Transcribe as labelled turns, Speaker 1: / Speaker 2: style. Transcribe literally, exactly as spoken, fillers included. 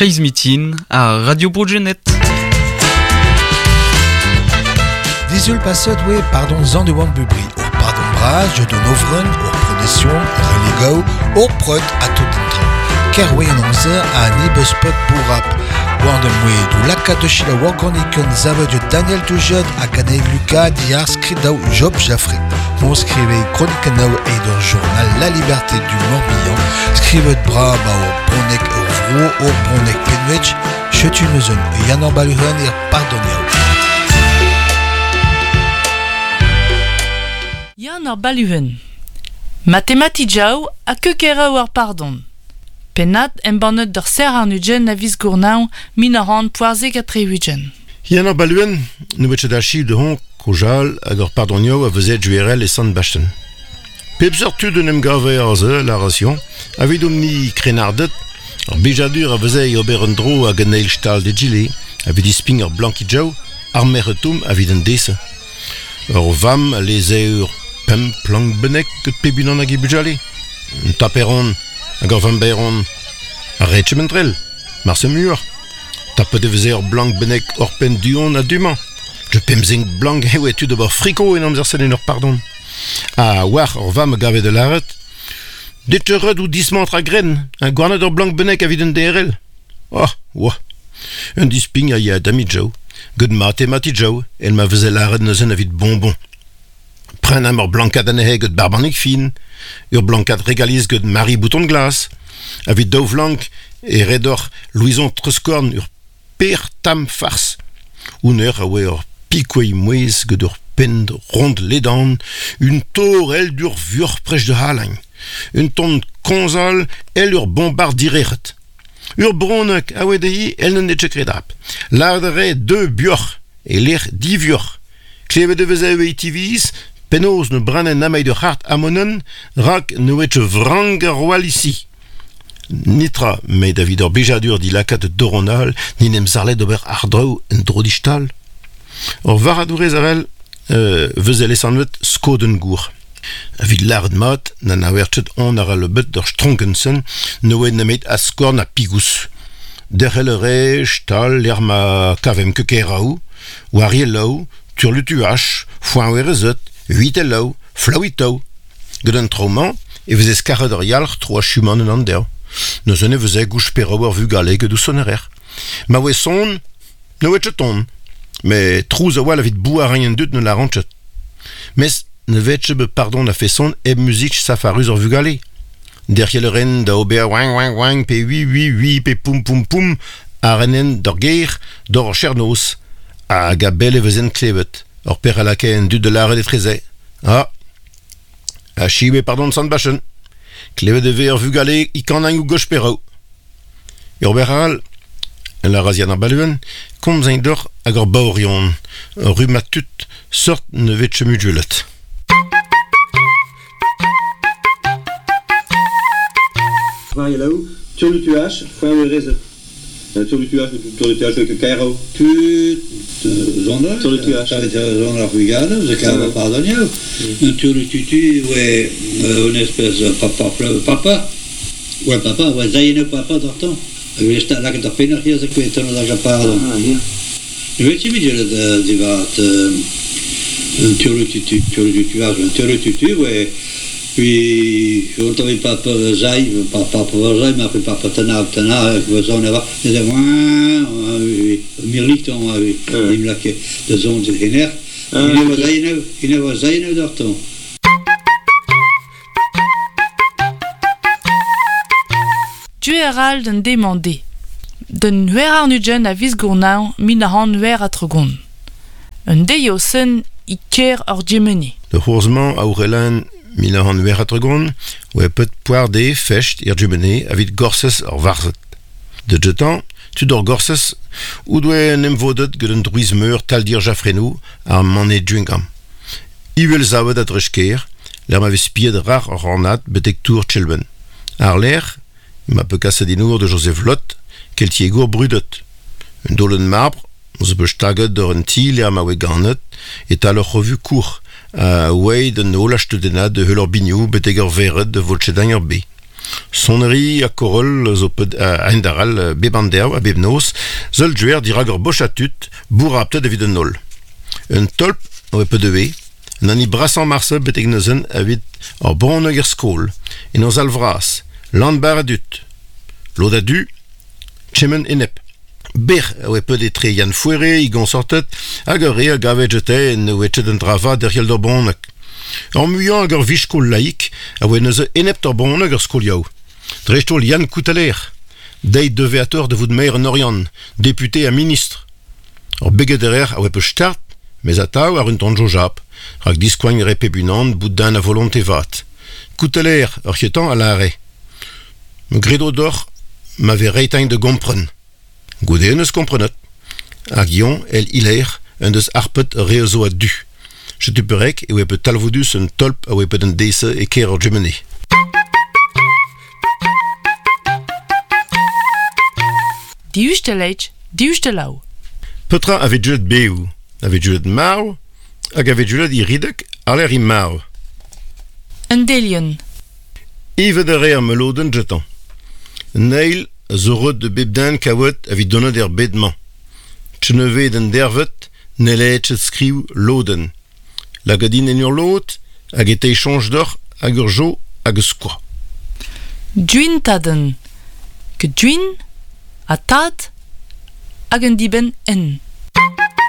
Speaker 1: Kreiz Mitin a Radio Bro-Gwened.
Speaker 2: Disul passet oe pardon zan de oan bubri. Ur pardon bras, je don ovren, ur prodession, religao, ur prod a tout an tra. Ker oe an amzer a an ebeus pet bourrap. War de moe do laka de chila wargoniken zavet de Daniel Toujet hag an Lucas diar skridao Job Jaffré. On skrive kronikenao eid ur journal La Liberté du Morbihan, skrivet bra ba ur bronek ur vro ur bronek penwech, chetu neuzen Yann ar Baluhen er pardoniao.
Speaker 3: Yann ar Baluhen. Mathematijao a kekeraou ar pardon. Pennad embannet d'ur ser ar nugen a viz gournañ min ar an poarzek a tre-ugen.
Speaker 4: Yann ar Baluhen, nou bet da chi de hon kojal hag ur pardonioù a vezet juerel e Sant Basten. Pep seurt tud en em gave ar ze, la ration, a vid omni krenardet, ar bijadur a vezet ober un dro hag an eil stal de gile, a vid isping ur blanki jau, ar merretum a vid an dese. Ur vam a leze ur pemp plank benek ket pebunan hag e bujale. Un taperon, hag ur vamberon, a retche mentrel, mar se mur. Tapet e veze ur blank benek ur pen duon a dumañ. Je pemzing blank eo e tud ober friko en amzer sen en ur pardon. A war ur vam gave de laret. Det ur ou dismantr a gren, un gwarnet ur blank benek a vid un D R L. Oh, oa. Un disping a ya dami jau, gud matemati jau, el ma veze laret neuzen a vid bonbon. Pren am ur blankad anezhe gud barbanik fin, ur blankad regaliz gud Marie Bouton de Glace, a vid daou vlank e redor Louison Trescorn ur per tam fars. Un ur a oe ur pikouei mouez gud ur pend rond ledan, un tor el dur vur prech de halañ, un ton konzal el ur bombard direret. Ur bronek a oe dehi el n'en etche kredap. Lardere deux bioc'h e lec'h divioc'h. Klevet de veze e tiviz, penaos ne branen amai de c'hart amonen, rak ne oetche vrang ar roal ici. Nitra, met David ur bejadur di lakat doronal, ni nem zarlet d'ober ardraou en drodistal. Ur varadourez arel, euh, veze lesanvet skoden gour. A vid lard mat, na na wertchet on ar le bet d'ur stronkensen, ne oe nemet askorn a pigous. Derc'hel re, stal, l'er ma kavem kekeraou, war yelaou, turlutuach, foin werezet, huit elaou, flaouitaou. Gant an traomañ, e veze skaret ur yalc'h tro a chuman en an der. Neuzen e veze gouch perraou ar vugale gant ou sonerer. Ma oe son, ne oe ton. Mais trouz a oa la vid bou a rien dut ne la rantchet. Mes ne vetche be pardon a feson e muzik safaruz ur vugale. Derrière le ren da ober wang wang wang pe ui ui ui pe poum poum poum a renen d'ur ger d'ur chernos hag a bel e vezen klevet. Ur per a lakae en dud de l'arret e treze. Ah, a chiwe pardon sant bachen. Klevet e ve ur vugale i kan ou goch perraou. Ur beral, la razian ar baluen, komz ein dor hag ur baorion, ur rumatut sort ne vetche mudulet.
Speaker 5: Varielaou, turlutuach, foin rezet. Turlutuach, turlutuach avec kaero.
Speaker 6: Tu zonder,
Speaker 5: Turlutuach.
Speaker 6: zonder vugale, ze kamer pardonio. Un turlututu, ouais, une espèce de papa, papa. Ouais, papa, ouais, zaïne papa d'orton. Ik wist dat ik dat pinnig hier, ik weet dat ik pardon.
Speaker 5: Ah, ja.
Speaker 6: Weet je wie dat die wat un turlututu, turlutuach, un turlututu, ouais. Puis, on avait papa zai, papa zai, maar papa tana, tana, we zo'n wa, en dan mirliton, die mlakke, de zon zit geen echt. En was hij nou, en was hij nou dat dan.
Speaker 3: Dueral den demandé. Den huer ar nugen a viz gournañ min ar an huer a trogon. Un deio sen i ker ur djemeni.
Speaker 4: De c'hourzmañ a ourelan mil an huer a trogon, oe pet poar de fecht ir djemeni a vid gorsez ur varzet. De jetan, tud ur gorsez, ou doe en emvodet gant un drouiz meur taldir jafrenou ar mané djungam. Ivel zavet a drechker, l'er ma vez spiet rar ur ranat betek tour tchelben. Ar l'er, ma pe kaset inour de Joseph Lot, keltiegour brudet. Un dolen marbre, zo be staget d'ur un ti l'er ma oe ganet, et al ur revu kour, a oe den nol a steudenad de heul ur bignou betek ur veret de volchedañ ur be. Sonnerie a korol zo ped a endaral beb an derv a beb noz, zeul juer dirag ur boch a tut, bourraptet evit un nol. Un tolp oe pe dewe, an ani brasan marse betek neuzen evit ur bronneg er skol, en oz alvras, land bar a dut. Lod a du, chemen enep. Ber oe ped etre Yann Fouere, i gonsortet, hag ur re a gavet jete en oe chet an drava derriel d'ur bronneg. Ur muiañ hag ur vichkol laik a oe neuze enep d'ur bronneg ur skoliaou. Dreistol Yann Koutaler, deit deveateur de vout maire en Oriant, député ha ministre. Ur beget erer a oe pe start, mes atav ar un tonjo jap, rak diskoagn re pebunan bout d'un a volonté vat. Koutaler ur chetan a lare. Me gredo d'or m'ave reitain de gompren. Goude eus komprenet. Hag ion el iler un deus arpet reozo a du. Chetu perek e oe pe talvoudus un tolp a oe pet un dese e ker ur jemene.
Speaker 3: Diuste leitch, diuste lau.
Speaker 4: Petra ave julet beou, ave julet marv, hag ave julet iridek aler i marv.
Speaker 3: Un delion.
Speaker 4: Ive de re ar meloden jetan. Neil zo reut de bep den kaouet evit donet er bedmañ. Tcheneve den dervet, nele chet skriv loden. Lagadin en ur lot, hag e tei chonj d'or hag ur jo hag eus skoa.
Speaker 3: Duin taden. Ke duin, a tad, hag un diben en.